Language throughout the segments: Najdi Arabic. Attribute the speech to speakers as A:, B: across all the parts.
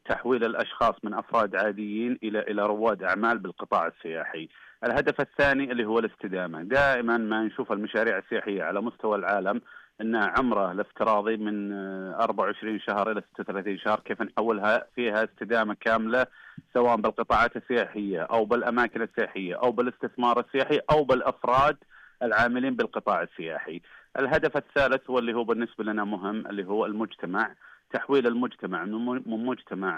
A: تحويل الأشخاص من أفراد عاديين إلى رواد أعمال بالقطاع السياحي. الهدف الثاني اللي هو الاستدامة. دائما ما نشوف المشاريع السياحية على مستوى العالم أن عمره الافتراضي من 24 شهر إلى 36 شهر، كيف نحولها فيها استدامة كاملة، سواء بالقطاعات السياحية أو بالأماكن السياحية أو بالاستثمار السياحي أو بالأفراد العاملين بالقطاع السياحي. الهدف الثالث واللي هو بالنسبة لنا مهم اللي هو المجتمع، تحويل المجتمع من مجتمع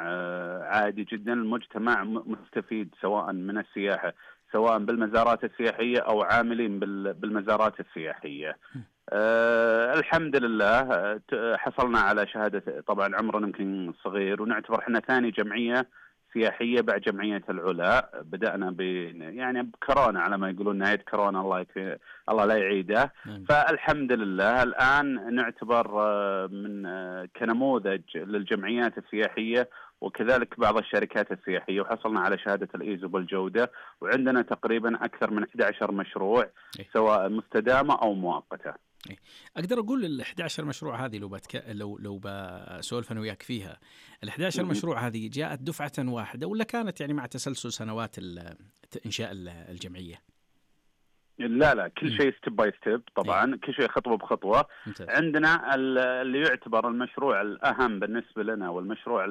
A: عادي جدا المجتمع مستفيد سواء من السياحة، سواء بالمزارات السياحية أو عاملين بالمزارات السياحية. الحمد لله حصلنا على شهادة، طبعا عمرنا يمكن صغير ونعتبر احنا ثاني جمعية سياحية بعد جمعية العلا. بدأنا يعني بكورونا على ما يقولون، نهاية كورونا الله لا يعيده. فالحمد لله الآن نعتبر من كنموذج للجمعيات السياحية وكذلك بعض الشركات السياحية، وحصلنا على شهادة الإيزو بالجودة، وعندنا تقريبا أكثر من 11 مشروع سواء مستدامة أو مؤقتة.
B: أقدر أقول ال 11 مشروع هذه لو بسولف أنا وياك فيها، ال 11 مشروع هذه جاءت دفعة واحدة ولا كانت يعني مع تسلسل سنوات إنشاء الجمعية؟
A: لا كل شيء ستيب باي ستيب طبعا. كل شيء خطوة بخطوة.
B: ممتاز.
A: عندنا اللي يعتبر المشروع الأهم بالنسبة لنا والمشروع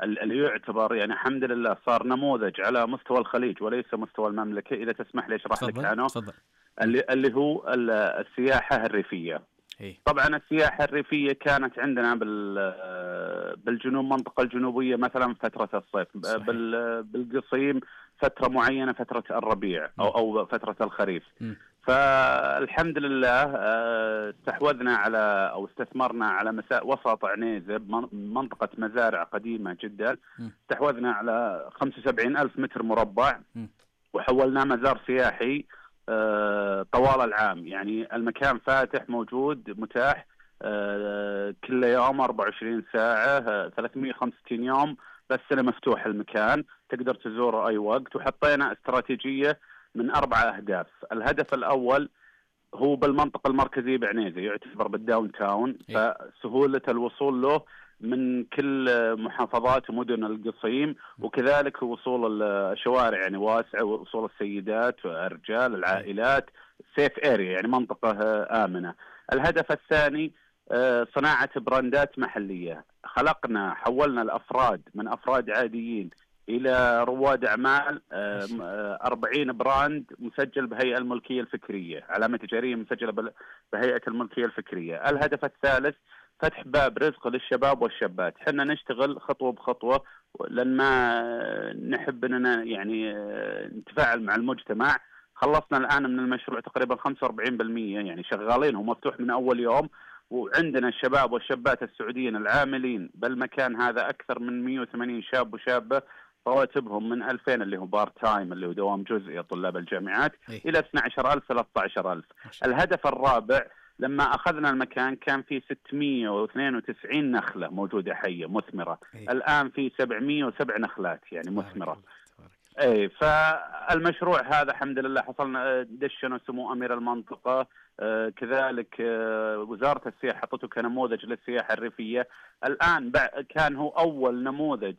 A: اللي يعتبر يعني الحمد لله صار نموذج على مستوى الخليج وليس مستوى المملكة. إذا تسمح لي أشرح لك عنه. اللي هو السياحة الريفية. طبعا السياحة الريفية كانت عندنا بالجنوب، منطقة الجنوبية مثلا فترة الصيف، بالقصيم فترة معينة فترة الربيع أو فترة الخريف. فالحمد لله استحوذنا على أو استثمرنا على وسط عنيزة منطقة مزارع قديمة جدا. استحوذنا على 75,000 متر مربع وحولناه مزار سياحي طوال العام. يعني المكان فاتح موجود متاح كل يوم 24 ساعة 365 يوم بالسنة مفتوح المكان، تقدر تزوره أي وقت. وحطينا استراتيجية من 4 أهداف. الهدف الأول هو بالمنطقة المركزية بعنيزة، يعتبر بالداون تاون، فسهولة الوصول له من كل محافظات ومدن القصيم، وكذلك وصول الشوارع يعني واسعة، وصول السيدات والرجال العائلات، سيف اريا يعني منطقة آمنة. الهدف الثاني صناعة براندات محلية. حولنا الأفراد من أفراد عاديين إلى رواد أعمال. 40 براند مسجل بهيئة الملكية الفكرية، علامة تجارية مسجلة بهيئة الملكية الفكرية. الهدف الثالث فتح باب رزق للشباب والشابات. حنا نشتغل خطوة بخطوة لأن ما نحب أننا يعني نتفاعل مع المجتمع. خلصنا الآن من المشروع تقريبا 45%، يعني شغالين، هو مفتوح من أول يوم. وعندنا الشباب والشابات السعوديين العاملين بالمكان هذا أكثر من 180 شاب وشابة، رواتبهم من 2000 اللي هو بارت تايم اللي هو دوام جزئي طلاب الجامعات إلى 12,000 13,000. الهدف الرابع لما أخذنا المكان كان في 692 نخلة موجودة حية مثمرة. الآن في 707 نخلات يعني مثمرة. فالمشروع هذا الحمد لله حصلنا دشنا سمو أمير المنطقة، كذلك وزارة السياحة حطته كنموذج للسياحة الريفية. الآن كان هو أول نموذج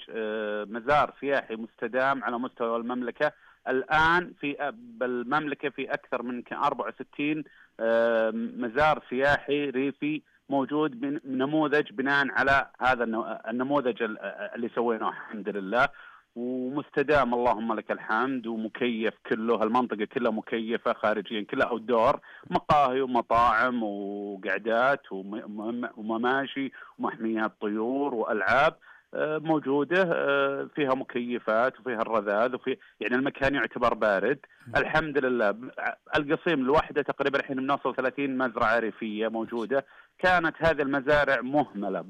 A: مزار سياحي مستدام على مستوى المملكة. الآن بالمملكة في أكثر من 64 مزار سياحي ريفي موجود نموذج بناء على هذا النموذج اللي سويناه الحمد لله، ومستدام اللهم لك الحمد، ومكيف كله. المنطقة كلها مكيفة خارجيا، كلها أوتدور، مقاهي ومطاعم وقعدات ومماشي ومحميات طيور وألعاب موجودة فيها مكيفات وفيها الرذاذ يعني المكان يعتبر بارد. الحمد لله. القصيم الواحدة تقريبا الحين بنوصل 30 مزرعة ريفية موجودة. كانت هذه المزارع مهملة،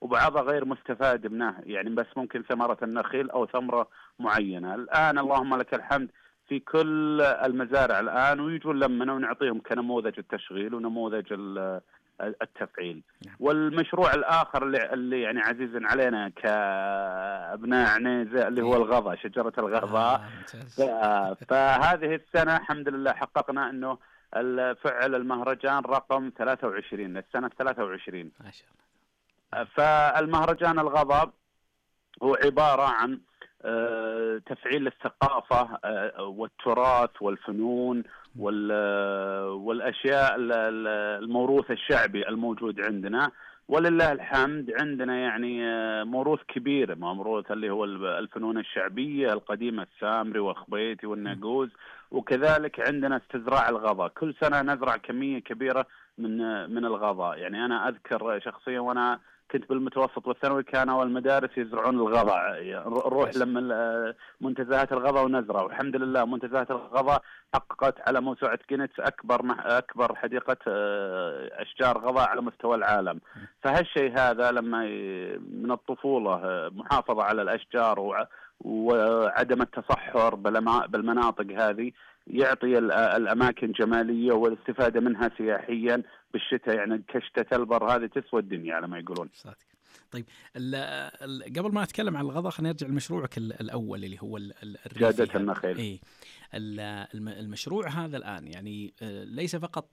A: بعضها غير مستفاد منها، يعني بس ممكن ثمرة النخيل أو ثمرة معينة. الآن اللهم لك الحمد في كل المزارع الآن، ويجون لمنا ونعطيهم كنموذج التشغيل ونموذج التفعيل. والمشروع الآخر اللي يعني عزيز علينا كأبناء عنيزة اللي هو الغضا، شجرة الغضاء. فهذه السنة الحمد لله حققنا أنه الفعل المهرجان رقم 23 السنة 23.
B: ما شاء الله.
A: فالمهرجان الغضب هو عبارة عن تفعيل الثقافة والتراث والفنون والأشياء الموروث الشعبي الموجود عندنا. ولله الحمد عندنا يعني موروث كبير، موروث اللي هو الفنون الشعبية القديمة، السامري والخبيتي والناقوز، وكذلك عندنا استزراع الغضا. كل سنة نزرع كمية كبيرة من الغضا. يعني أنا أذكر شخصيا وأنا كنت بالمتوسط والثانوي كانوا المدارس يزرعون الغضا، نروح لما منتزهات الغضا ونزرع. والحمد لله منتزهات الغضا حققت على موسوعة جينيس أكبر حديقة أشجار غضا على مستوى العالم. فهالشيء هذا لما من الطفولة محافظة على الأشجار وعدم التصحر بالمناطق هذه يعطي الأماكن جمالية والاستفادة منها سياحيا بالشتاء. يعني كشتة البر هذه تسوى الدنيا على ما يقولون.
B: طيب قبل ما أتكلم عن الغضا خلينا نرجع لمشروعك الأول اللي هو
A: جادة النخيل.
B: إيه المشروع هذا الآن يعني ليس فقط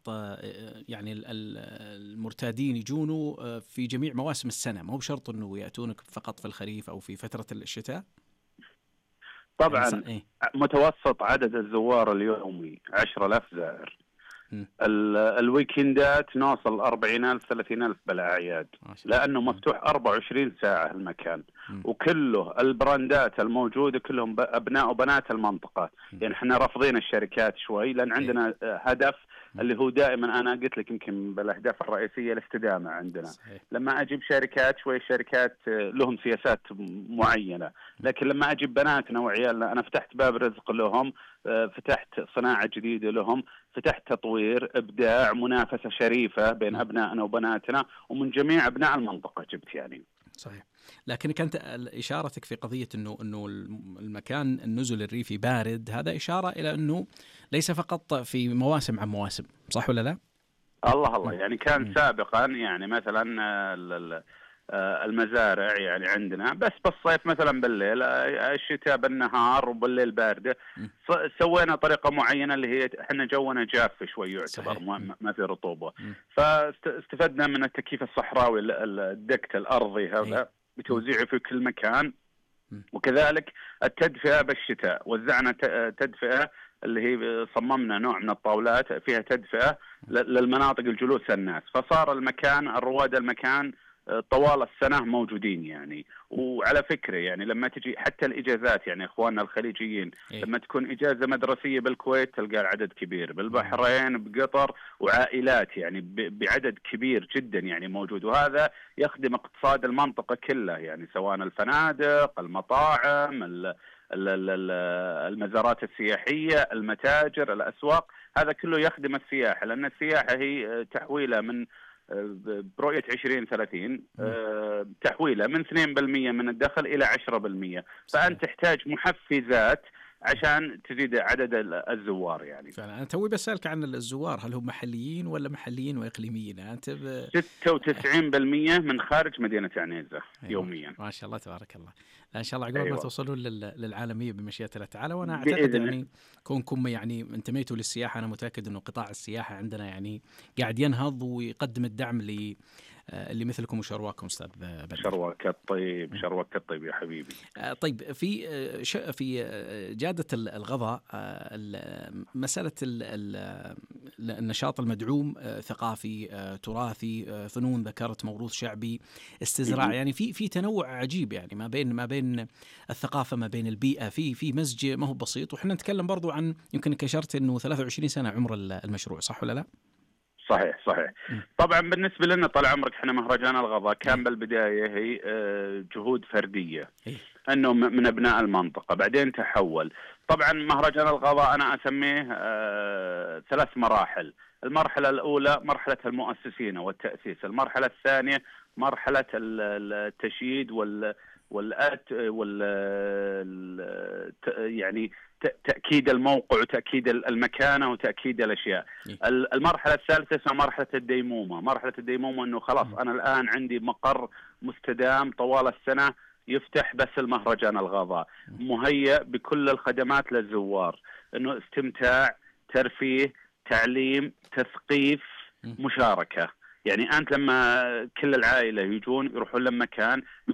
B: يعني المرتادين يجونوا في جميع مواسم السنة، ما هو بشرط أنه يأتونك فقط في الخريف أو في فترة الشتاء.
A: طبعا يعني متوسط عدد الزوار اليومي 10,000 زائر. الويكندات نوصل 40,000 30,000 بالأعياد، لأنه مفتوح 24 ساعة المكان. وكله البراندات الموجودة كلهم أبناء وبنات المنطقة. يعني احنا رافضين الشركات شوي، لأن عندنا هدف اللي هو دائما أنا قلت لك يمكن بالأهداف الرئيسية الاستدامة عندنا. لما أجيب شركات شوي شركات لهم سياسات معينة، لكن لما أجيب بناتنا وعيالنا أنا فتحت باب رزق لهم، فتحت صناعة جديدة لهم، فتحت تطوير، إبداع، منافسة شريفة بين أبنائنا وبناتنا ومن جميع أبناء المنطقة جبت يعني.
B: صحيح. لكن كانت إشارتك في قضية إنه المكان النزل الريفي بارد، هذا إشارة إلى إنه ليس فقط في مواسم عن مواسم، صح ولا لا؟
A: الله يعني كان سابقا يعني مثلا المزارع يعني عندنا بس بالصيف مثلا بالليل، الشتاء بالنهار وبالليل باردة. سوينا طريقة معينة اللي هي احنا جونا جاف شوي يعتبر ما في رطوبة. فاستفدنا من التكييف الصحراوي الدكت الأرضي هذا بتوزيعه في كل مكان، وكذلك التدفئة بالشتاء. وزعنا تدفئة اللي هي صممنا نوع من الطاولات فيها تدفئة للمناطق الجلوس الناس. فصار المكان الرواد المكان طوال السنة موجودين يعني. وعلى فكرة يعني لما تجي حتى الإجازات يعني إخواننا الخليجيين لما تكون إجازة مدرسية بالكويت تلقى العدد كبير، بالبحرين بقطر وعائلات يعني بعدد كبير جدا يعني موجود. وهذا يخدم اقتصاد المنطقة كلها يعني سواء الفنادق، المطاعم، المزارات السياحية، المتاجر، الأسواق، هذا كله يخدم السياحة. لأن السياحة هي تحويلة من برؤية 2030 تحويله من 2% من الدخل إلى 10%. فأنت تحتاج محفزات عشان تزيد عدد الزوار يعني.
B: فعلا أنا توي بسألك عن الزوار، هل هم محليين ولا محليين وإقليميين؟ أنت
A: 96% من خارج مدينة عنيزة يوميا.
B: ما شاء الله تبارك الله. إن شاء الله عقبال ما توصلوا للعالمية بمشيئة الله تعالى. وأنا أعتقد يعني كونكم يعني انتميتوا للسياحة، أنا متأكد إنه قطاع السياحة عندنا يعني قاعد ينهض ويقدم الدعم اللي مثلكم وشرواكم أستاذ بدر.
A: شرواك الطيب يا حبيبي.
B: طيب في جادة الغضا مسألة النشاط المدعوم ثقافي تراثي فنون، ذكرت موروث شعبي، استزراع، يعني في تنوع عجيب يعني ما بين الثقافة ما بين البيئة، في مزج ما هو بسيط. وإحنا نتكلم برضو عن يمكن أشرت إنه 23 سنة عمر المشروع، صح ولا لا؟
A: صحيح. طبعا بالنسبة لنا طال عمرك احنا مهرجان الغضا كان بالبداية هي جهود فردية انه من ابناء المنطقة، بعدين تحول. طبعا مهرجان الغضا انا اسميه 3 مراحل. المرحلة الاولى مرحلة المؤسسين والتأسيس، المرحلة الثانية مرحلة التشييد يعني تأكيد الموقع وتأكيد المكانة وتأكيد الأشياء. المرحلة الثالثة اسمها مرحلة الديمومة. مرحلة الديمومة أنه خلاص أنا الآن عندي مقر مستدام طوال السنة يفتح بس المهرجان الغضا، مهيأ بكل الخدمات للزوار، أنه استمتاع، ترفيه، تعليم، تثقيف، مشاركة. يعني أنت لما كل العائلة يروحون لمكان يكون